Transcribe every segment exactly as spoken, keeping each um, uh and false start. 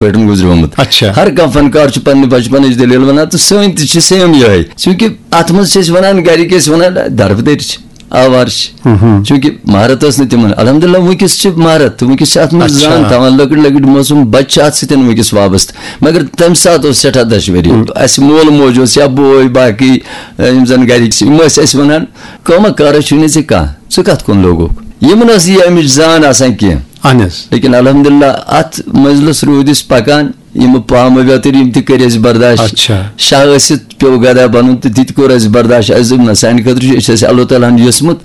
پٲٹھۍ گُزریومُت۔ اچھا۔ ہر کانٛہہ فنکار چھُ پننہِ بچپنٕچ دٔلیٖل ونان تہٕ سٲنۍ تہِ چھِ سیم یِہے، چوٗنٛکہِ اتھ منٛز چھِ أسۍ ونان، گرِکۍ ٲسۍ ونان، دربٕدٔرۍ چھِ، آوارٕ چھِ۔ چوٗنٛکہِ مہارت ٲس نہٕ تِمن۔ الحمدللہ وٕنکیٚس چھِ مہارت، وٕنکیٚس چھِ اتھ منٛز اچھا۔ زان تھاوان، لۄکٕٹۍ لۄکٕٹۍ معصوٗم بچہِ چھِ اتھ سۭتۍ وٕنکیٚس وابستہٕ۔ مگر تمہِ ساتہٕ اوس سٮ۪ٹھاہ دشوٲری۔ اسہِ مول موج اوس یا بوے باقٕے، یِم زن گرِکۍ چھِ، یِم ٲسۍ اسہِ ونان، کٲمہ کارا چھُے نہٕ ژےٚ کانٛہہ، ژٕ کتھ کُن لوگُکھ؟ یِمن ٲس یہِ امِچ زان آسان کینٛہہ۔ اہن حظ۔ لیکن الحمدللہ اتھ منزلس روٗدۍ أسۍ پکان، یِم پامہٕ ویتٕرۍ یِم تہِ کٔرۍ اسہِ برداشت۔ اچھا۔ شاہ ٲسِتھ پیوٚو گدا بنُن تہٕ تہِ تہِ کوٚر اسہِ برداشت۔ اسہِ دوٚپ نہ، سانہِ خٲطرٕ چھُ، أسۍ چھِ اسہِ اللہ تعالیٰ ہن یوٚژمُت،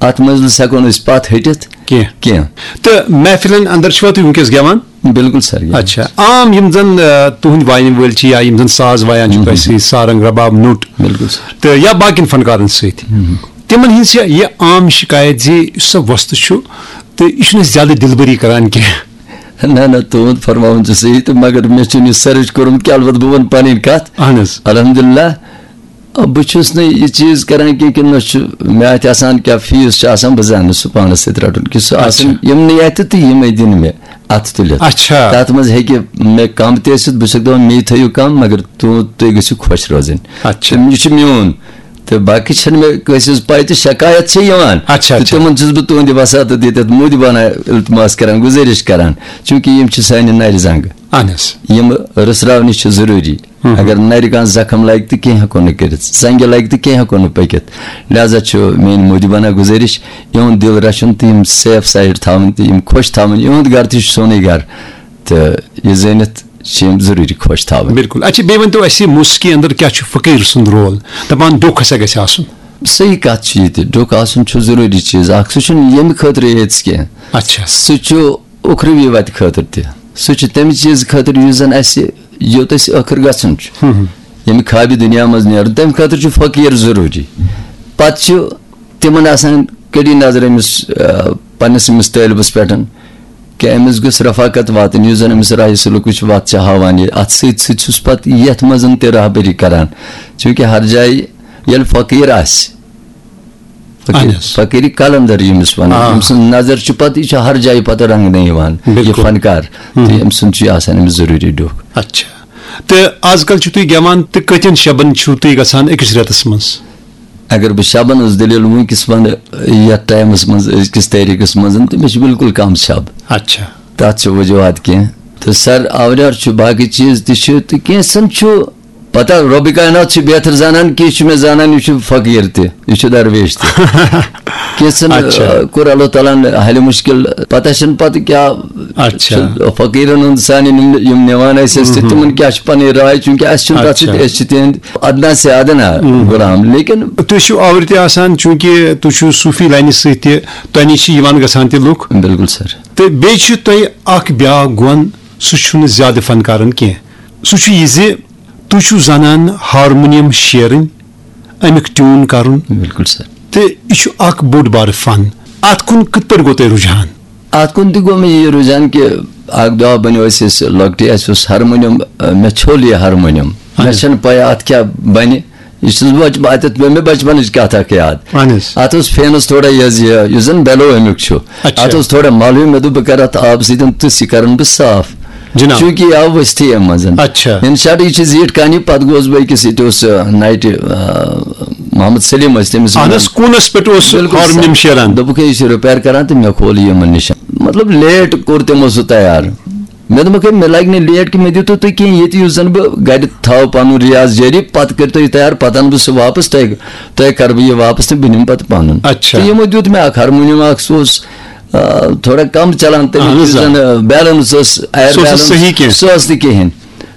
اتھ منزلس ہٮ۪کو نہٕ أسۍ پتھ ہٹِتھ کینٛہہ۔ کینٛہہ۔ تہٕ محفلن اندر چھِوا تُہۍ وٕنکیٚس گٮ۪وان؟ بالکل سر، گٮ۪وان۔ اچھا۔ عام یِم زن آ، تُہنٛدۍ واینہٕ وٲلۍ چھِ یا یِم زن ساز وایان چھِ تۄہہِ سۭتۍ، سارنگ، رباب، نوٚٹ، بالکل سر۔ تہٕ یا باقین فنکارن سۭتۍ، تِمن ہٕنٛز چھےٚ یہِ عام شکایت زِ یُس سا وۄستہٕ چھُ تہٕ یہِ چھُنہٕ زیادٕ دلبری کران کینٛہہ۔ نہ نہ، تُہُنٛد فرماوُن چھُ صحیح تہٕ مگر مےٚ چھُنہٕ یہِ سٔرٕچ کوٚرمُت کینٛہہ، البتہٕ بہٕ وَنہٕ پنٕنۍ کتھ۔ اہن حظ۔ الحمدللہ، بہٕ چھُس نہٕ یہِ چیٖز کران کینٛہہ کہِ نہ چھُ مےٚ اتہِ آسان کیٛاہ فیٖس چھُ آسان، بہٕ زانہٕ سُہ پانس سۭتۍ رٹُن کہِ سُہ آسان اچھا۔ یِمنٕے اتہِ تہٕ یِمے دِنۍ مےٚ اتھٕ تُلِتھ۔ اچھا۔ تتھ منٛز ہیٚکہِ مےٚ کم تہِ ٲسِتھ، بہٕ چھُسکھ دپان مے تھٲیِو کم، مگر تُہُنٛد، تُہۍ گٔژھِو خۄش روزٕنۍ۔ اچھا۔ تہٕ یہِ چھُ میون۔ تہٕ باقٕے چھَنہٕ مےٚ کٲنٛسہِ ہٕنٛز پَے تہٕ شکایت چھےٚ یِوان۔ اچھا، تہٕ اچھا۔ تِمن چھُس بہٕ تُہٕنٛدِ وساطہٕ دِتھ یَتھ مودِ بانہ التماس کران، گُزٲرِش کران، چوٗنٛکہِ یِم چھِ سانہِ نَرِ زنٛگہٕ۔ اہن حظ۔ یِم رٕژراونہِ چھِ ضروٗری۔ اگر نَرِ کانٛہہ زخم لگہِ تہٕ کینٛہہ ہٮ۪کو نہٕ کٔرِتھ، زنٛگہِ لگہِ تہٕ کینٛہہ ہٮ۪کو نہٕ پٔکِتھ۔ لہذا چھُ میٲنۍ مودِ بانہ گُزٲرِش، یِہُنٛد دِل رَچھُن تہٕ یِم safe side تھاوٕنۍ تہٕ یِم خۄش تھاوٕنۍ۔ یِہُنٛد گرٕ تہِ چھُ سونُے گرٕ، تہٕ یہِ زٲنِتھ چھِ یِم ضروٗری خۄش تھاوٕنۍ۔ بِلکُل۔ اچھا، بیٚیہِ ؤنۍ تو اَسہِ، موسیقی اندر کیٛاہ چھُ فقیٖر سُنٛد رول؟ دَپان ڈوٚکھ ہسا گژھِ آسُن۔ صحیح کتھ چھِ یہِ تہِ، ڈوٚکھ آسُن چھُ ضروٗری چیٖز اکھ۔ سُہ چھُنہٕ ییٚمہِ خٲطرٕ یٲژ کینٛہہ۔ اچھا۔ سُہ چھُ اُخروی وتہِ خٲطرٕ تہِ۔ سُہ چھُ تمہِ چیٖزٕ خٲطرٕ یُس زن اسہِ، یوٚت اسہِ ٲخٕر گژھُن چھُ، ییٚمہِ خابہِ دُنیا منٛز نیرُن، تمہِ خٲطرٕ چھُ فقیٖر ضروٗری۔ پتہٕ چھُ تِمن آسان کٔڑی نظر أمِس، آ، پننِس أمِس طٲلبس پٮ۪ٹھ کہِ أمِس گٔژھ رفاقت واتٕنۍ، یُس زن أمِس راہِ سلوکٕچ وتھ چھِ ہاوان۔ یہِ اتھ سۭتۍ سۭتۍ چھُس پتہٕ یتھ منٛز تہِ رہبری کران، چوٗنٛکہِ ہر جایہِ ییٚلہِ فقیٖر آسہِ، فقیٖر، اہن حظ۔ فقیٖری قلندر ییٚمِس ونان، آ۔ أمۍ سٕنٛز نظر چھِ پتہٕ، یہِ چھُ ہر جایہِ پتہٕ رنگنہٕ یِوان، یہِ بِلکُل۔ فنکار، تہٕ أمۍ سُنٛد چھُ یہِ آسان أمِس ضروٗری ڈوٚکھ۔ اچھا۔ تہٕ آز کل چھِو تُہۍ گٮ۪وان تہٕ کٔژن شبن چھِو تُہۍ گژھان أکِس رٮ۪تس منٛز؟ اگر بہٕ شبن ہٕنٛز دٔلیٖل وٕنکیٚس ونہٕ، یتھ ٹایمس منٛز، أزکِس تٲریٖخس منٛز، تہٕ مےٚ چھِ بالکل کم شب۔ اچھا۔ تتھ چھِ وجوہات کینٛہہ۔ تہٕ سر، آوریر چھُ، باقٕے چیٖز تہِ چھِ، تہٕ کینٛژن چھُ پتہ، رۄبِ کاینات چھُ بہتر زانان، کینٛہہ چھُ مےٚ زانان، یہِ چھُ فقیٖر تہِ، یہِ چھُ درویش تہِ۔ کینٛژن، اچھا۔ آ، کوٚر اللہ تعالیٰ ہن حل مشکل، پتہ چھُنہٕ پتہٕ کیٛاہ اچھا۔ چھُ فقیٖرن ہُنٛد سانہِ یِم، یِم نِوان ٲسۍ أسۍ تہِ، تِمن کیٛاہ چھِ پنٕنۍ راے، چوٗنٛکہِ اَسہِ چھُنہٕ تتھ سۭتۍ، اچھا۔ أسۍ چھِ تِہنٛدۍ ادنیٰ سے ادنیٰ غلام، لیکن تُہۍ چھِو آورِ تہِ آسان، چوٗنٛکہِ تُہۍ چھِو صوٗفی لاینہِ سۭتۍ تہِ، تۄہہِ نِش چھِ یِوان گژھان تہِ لُکھ۔ بالکل سر۔ تہٕ بیٚیہِ چھُ تۄہہِ اکھ بیٛاکھ گۄن، سُہ چھُنہٕ زیادٕ فنکارن کینٛہہ۔ سُہ چھُ یہِ زِ تُہۍ چھِو زانان ہارمونیم شیرٕنۍ، اَمیُک ٹیوٗن کرُن، بالکل سر۔ تہٕ یہِ چھُ اکھ بوٚڑ بارٕ فن۔ اتھ کُن کِتھ پٲٹھۍ گوٚو تۄہہِ رُجحان؟ اتھ کُن تہِ گوٚو مےٚ یہِ رُجحان کہِ اکھ دۄہ بنیو أسۍ، أسۍ لۄکٹہِ، اسہِ اوس ہارمونیم، آ، مےٚ ژھوٚل یہِ ہارمونیم۔ مےٚ چھنہٕ پَے اتھ کیٛاہ بنہِ۔ یہِ چھُس بہٕ بچ-، اتٮ۪تھ پیٚو مےٚ بچپنٕچ کتھ اکھ یاد۔ اہن حظ۔ اتھ اوس فینس تھوڑا یہِ حظ یہِ، یُس زن بیلو امیُک چھُ۔ اچھا۔ اتھ اوس تھوڑا ملوٕے، مےٚ دوٚپ بہٕ کرٕ اتھ آبہٕ سۭتۍ تہٕ یہِ کرن بہٕ صاف۔ جناب۔ چوٗنٛکہِ یہِ آو ؤستھی امہِ منٛز۔ اچھا۔ In short، یہِ چھِ زیٖٹھ کہانی، پتہٕ گوس بہٕ أکِس، ییٚتہِ اوس، آ، نایٹہِ، آ، محمد سلیٖم ٲسۍ تٔمِس اہن ونان۔ حظ، کوٗنس پٮ۪ٹھ اوس بالکل ہارمونیم سر۔ شیران؟ دوٚپُکھ، ہے، یہِ چھُ ریپیر کران تہٕ مےٚ کھول یہِ یِمن نِش۔ مطلب، لیٹ کوٚر تِمو سُہ تیار۔ مےٚ دوٚپُکھ، ہے، مےٚ لگہِ نہٕ لیٹ کہِ مےٚ دِتو تُہۍ کینٛہہ، ییٚتہِ یُس زن بہٕ گرِ تھاوٕ پنُن ریاض جٲری، پتہٕ کٔرۍ تُہۍ یہِ تیار، پتہٕ انہٕ بہٕ سُہ واپس، تۄہہِ، تۄہہِ کرٕ بہٕ یہِ واپس تہٕ بہٕ نِمہٕ پتہٕ پنُن۔ اچھا۔ تہٕ یِمو دیُت مےٚ اکھ ہارمونیم اکھ، سُہ اوس، آ، تھوڑا کم چلان، تمیُک اہن حظ، یُس آ۔ زن، آ، بیلنس ٲس، ایئر سُہ اوس نہٕ بیلنس، صحیح کینٛہہ۔ سُہ اوس نہٕ کِہینۍ۔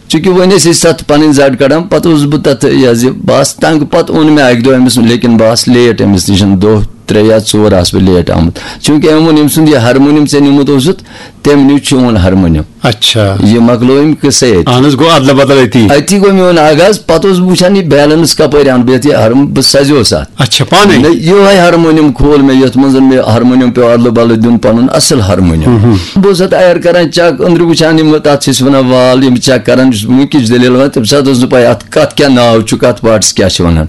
چونکہ وۄنۍ ٲسۍ أسۍ تتھ پنٕنۍ زڈ کڑان، پتہٕ اوسُس بہٕ تتھ، یہِ حظ یہِ، بہٕ آس تنگ۔ پتہٕ اوٚن مےٚ اکہِ دۄہ أمِس، لیکن بہٕ آس لیٹ أمِس نِش، دۄہ ترٛےٚ یا ژور آس بہٕ لیٹ آمُت، چونکہ أمۍ ووٚن، أمۍ سُنٛد یہِ ہارمونیم ژےٚ نیوٗمُت اوسُتھ، تٔمۍ نیوٗ چون ہارمونیم۔ اچھا۔ یہِ مۄکلو أمۍ قصے أتی۔ اہن حظ، گوٚو ادلہ بدل أتی۔ أتی گوٚو میون آغاز، پتہٕ اوسُس بہٕ وٕچھان یہِ بیلنس کپٲرۍ اَنہٕ بہٕ یتھ، یہِ ہارم-، بہٕ سزیوس اتھ۔ اچھا، پانے؟ نہ، یِہوے ہارمونیم کھول مےٚ، یتھ منٛز مےٚ ہارمونیم پیوٚو ادلہٕ بدلہٕ دیُن، پنُن اصل ہارمونیم۔ بہٕ اوسُس اتھ ایر کران چیک، أنٛدرٕ وٕچھان یِم تتھ چھِ أسۍ ونان وال، یِم چیک کران، یُس وٕنکِچ دٔلیٖل ونان، تمہِ ساتہٕ اوس نہٕ پاے اتھ کتھ کیٛاہ ناو چھُ، کتھ پارٹس کیٛاہ چھِ ونان۔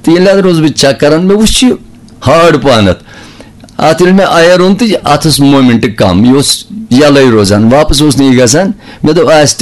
تہٕ ییٚلہِ اتھ روٗدُس بہٕ چیک کران، مےٚ وٕچھ یہِ ہارڈ پہنتھ۔ اتھ ییٚلہِ مےٚ اَیر اوٚن تہٕ اتھ ٲس مومینٹ کم، یہِ اوس یَلَے روزان، واپس اوس نہٕ یہِ گژھان۔ مےٚ دوٚپ، آسہِ تہٕ